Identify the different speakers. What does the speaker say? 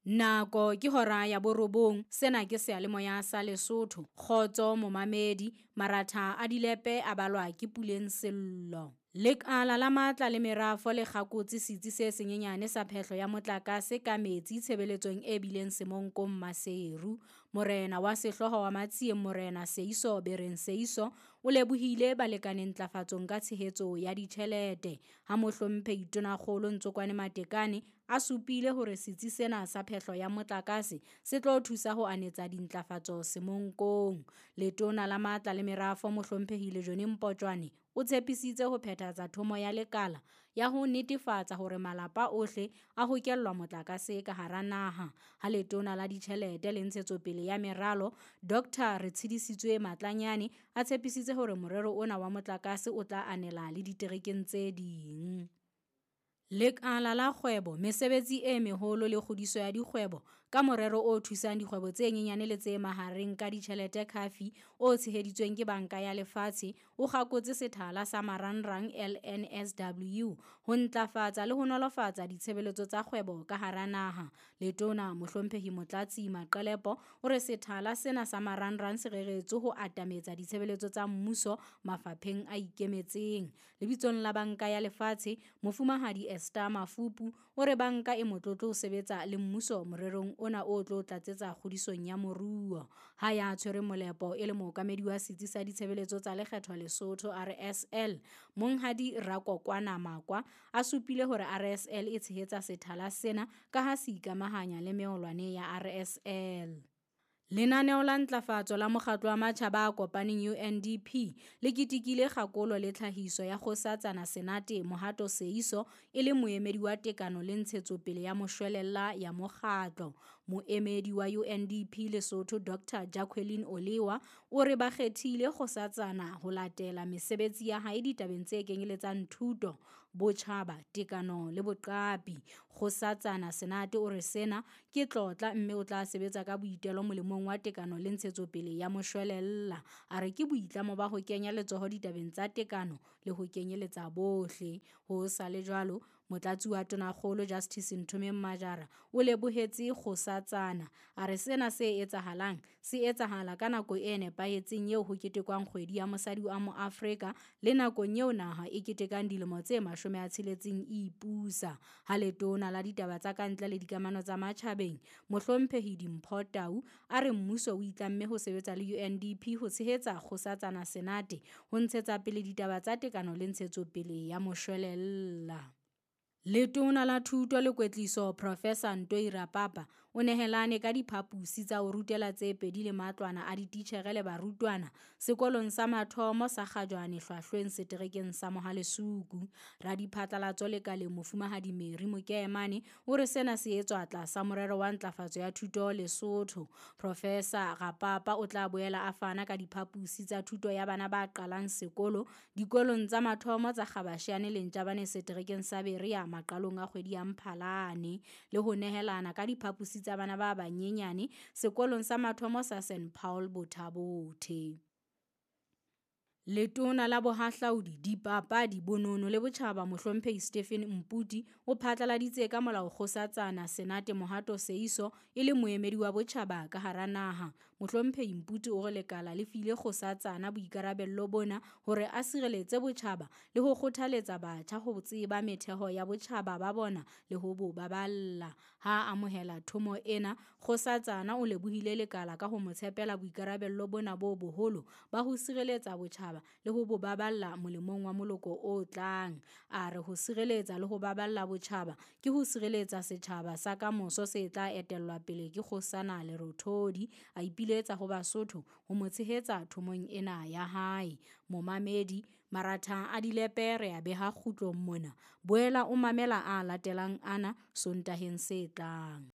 Speaker 1: Nako ke hora ya 9, sena ke seyalemoya sa Lesotho. Kgotso momamedi, maratha a dilepe a balwa ke Puleng Sello. Lekala la matla le merafo le kgakotse setsi se senyenyane sa phehlo ya motlakase ka metsi tshebeletsong e bileng Semonkong Maseru. Morena wa sehlooho wa Matsieng Morena Seiso Bereng Seiso o lebohile balekane ntlafatsong ka tshehetso ya ditjhelete. Ha mohlomphehi Tonakgolo Ntsokoane Matekane a supile hore setsi sena sa phehlo ya motlakase se tlo thusa ho anetsa dintlafatso Semonkong. Letona la matla le merafo mohlomphehi Lejone Mpotjwane o tshepisitse ho phethahatsa thomo ya lekala ya ho netefatsa hore malapa ohle a hokellwa motlakase ka hara naha. Ha letona la ditjhelete le ntshetsopele ya meralo Dr. Retshidisitswe Matlanyane a tshepisitse hore morero ona wa motlakase o tla anela le diterekeng tse ding. Lekala la kgwebo, mesebetsi e meholo le kgodiso ya dikgwebo ka morero o thusang dikgwebo tse nyenyane le tse mahareng ka ditjhelete CAFI o tsheheditsweng ke Banka ya Lefatshe o kgakotse sethala sa marangrang LNSW ho ntlafatsa le ho nolofatsa ditshebeletso tsa kgwebo ka hara naha. Letona Mohlomphehi Motlatsi Maqelepo o re sethala sena sa marangrang se reretswe ho atametsa ditshebeletso tsa mmuso mafapheng a ikemetseng. Lebitsong la Banka ya Lefatshe, Mofumahadi Esther Mafupu o re banka e motlotlo ho sebetsa le mmuso morerong ona o tlo tlatsetsa kgodisong ya moruo. Ha ya tshwere molepo e le mookamedi wa setsi sa ditshebeletso tsa lekgetho Lesotho RSL, Monghadi Rakokwana Makwa a supile hore RSL e tshehetsa sethala sena ka ha se ikamahanya le meolwane ya RSL. Lenaneo la ntlafatso la Mokgatlo wa Matjhaba a Kopaneng UNDP le ketekile kgakolo le tlhahiso ya Kgosatsana Senate Mohato Seiso e le moemedi wa tekano le ntshetsopele ya moshwelella ya mokgatlo. Moemedi wa UNDP Lesotho Dr. Jacqueline Olewa o re ba kgethile Kgosatsana ho latela mesebetsi ya hae ditabeng tse kenyeletsang thuto, botjhaba, tekano le boqapi. Kgosatsana Senate o re sena ke tlotla mme o tla sebetsa ka boitelo molemong wa tekano le ntshetsopele ya moshwelella. A re ke boitlamo ba ho kenya letsoho ditabeng tsa tekano le ho kenyeletsa bohle. Ho sa le jwalo, Motlatsi wa Tonakgolo Justice Nthomeng Majara o lebohetse Kgosatsana. A re sena se etsahalang se etsahala ka nako e nepahetseng eo ho ketekwang kgwedi ya mosadi wa Moafrika le nakong eo naha e ketekang dilemo tse 60 e ipusa. Ha letona la ditaba tsa kantle le dikamano tsa matjhabeng Mohlomphehi Dimpho Tau a re mmuso o itlamme ho sebetsa le UNDP ho tshehetsa Kgosatsana Senate ho ntshetsa pele ditaba tsa tekano le ntshetsopele ya moshwelella. Letona la Thuto le Kwetliso Professor Ntoi Rapapa o nehelane ka diphaposi tsa ho rutela tse pedi le matlwana a dititjhere le barutwana sekolong sa mathomo sa Kgajwane Hlwahlweng seterekeng sa Mohalesuku. Radiphatlalatso lekaleng Mofumahadi Mary Mokemane o re sena se etswa tlasa morero wa ntlafatso ya thuto Lesotho. Professor Rapapa o tla boela a fana ka diphaposi tsa thuto ya bana ba qalang sekolo dikolong tsa mathomo tsa Kgabashiane le Ntjabane seterekeng sa Berea maqalong a kgwedi ya Mphalane le ho nehelana ka diphaposi tsa bana ba banyenyane sekolong sa mathomo sa St Paul Bothabothe. Letona la Bohahlaudi, Dipapadi, Bonono le Botjhaba Mohlomphehi Stephen Mputi o phatlaladitse ka molao Kgosatsana Senate Mohato Seiso e le moemedi wa botjhaba ka hara naha. Mohlomphehi Mputi o re lekala le file Kgosatsana boikarabello bona hore a sireletse botjhaba le ho kgothaletsa batjha ho tseba metheho ya botjhaba ba bona le ho bo baballa. Ha a amohela thomo ena, Kgosatsana o lebohile lekala ka ho mo tshepela boikarabello bona bo boholo ba ho sireletsa botjhaba le ho bo baballa molemong wa moloko o tlang. A re ho sireletsa le ho baballa botjhaba ke ho sireletsa setjhaba sa kamoso se tla etellwa pele ke Kgosana Lerothodi. A ipiletsa ho Basotho ho mo tshehetsa thomong ena ya hae. Momamedi, maratha a dilepe re a beha kgutlong mona. Boela o mamela a latelang ana Sontaheng se tlang.